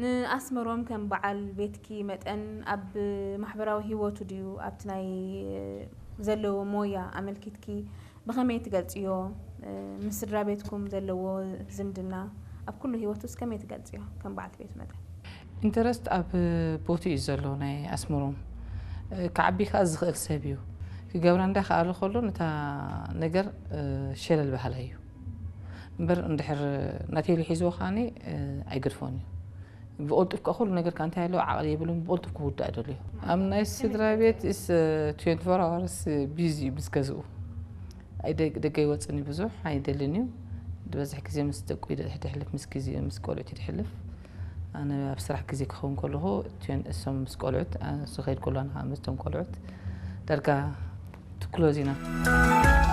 ንኣስመሮም ከም በዓል ቤትኪ መጠን ኣብ ማሕበራዊ ህይወቱ ድዩ ኣብቲ ናይ ዘለዎ ሞያ ኣመልኪትኪ ብኸመይ ትገልጽዮ? ምስ ስድራ ቤትኩም ዘለዎ ዝምድና ኣብ ኩሉ ህይወቱስ ከመይ ትገልጽዮ ከም በዓልቲ ቤቱ መጠን? ኢንተረስት ኣብ ቦቱ እዩ ዘሎ ናይ ኣስመሮም። ክዓቢ ከዓ ዝኽእል ሰብ እዩ። ክገብራ እንዳ ከኣለ ከሎ ነታ ነገር ሸለል ባህላ እዩ እምበር እንድሕር ናተይሉ ሒዝዎ ከዓኒ ኣይገድፎን እዩ። ብቐልጡፍ ከዓ ኩሉ ነገር ከዓ እንታይ ኣለዎ ዓቕሊ የብሉን። ብቐልጡፍ ክውዳእ ደልዮ ኣብ ናይ ስድራ ቤት ስ ትዌንቲ ፎር ኣወርስ ቢዚ እዩ ምስ ገዝኡ። ደገ ይወፅኒ ብዙሕ ኣይደልን እዩ። ዝበዝሕ ግዜ ምስ ደቁ ይደሕልፍ ምስ ግዜ ምስ ቆልዑት ይደሕልፍ። ኣነ ኣብ ስራሕ ግዜ ክኸውን ከለኹ እሶም ምስ ቆልዑት ዝኸይድ ከሎ ኣነ ምስቶም ቆልዑት ዳርጋ ትክሎዝ ኢና።